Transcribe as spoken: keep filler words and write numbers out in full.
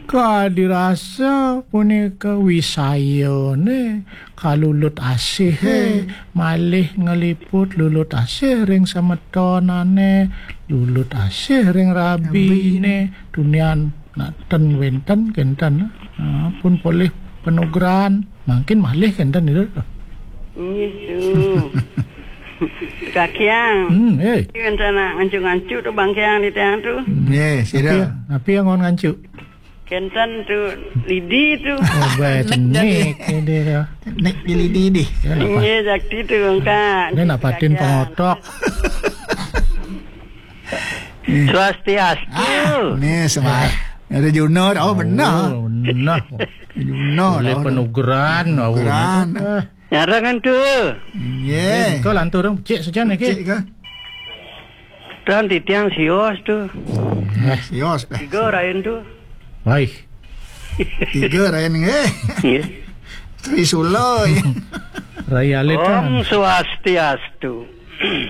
Kadirasa punika wisayane kalulut asih, eh, malih ngliput lulut asih ring semetonane, lulut asih ring rabine, tunian nak ten wenten kenten, ah, pun polih panugrahan, mangkin malih kenten itu. Nggih, tuh. Kakiang. Hmm, eh. Iki rencana ngancu-ngancu tuh, Bang Kiang, di tiang tuh. Nggih, sira. Tapi, tapi yang ngon ngancu. Kenten tuh, lidi tuh. Oh, baik, nek, nek, ini ya. Nek di lidi, di. Ya, nak pat-, nggih, jakti tuh, Kak. Ini nak patin Kakiang. Pengotok. Swastiastu. Ah, nih, semua. Ada Junor, oh, benar. Oh, benar. Junor, boleh oh, penugeran, oh, penugeran. Eh. Nyarangan tuh. Nggih. Eh, kau lantur dong, cek saja nih, Ki. Cek, Kak. Tan titiang sios tuh. Eh, sios, Pak. Tiga rain tuh. Baik. Tiga rain, nggih. Nggih. Trisula, ya. Rai alit, Om kan. Swastiastu. Iya.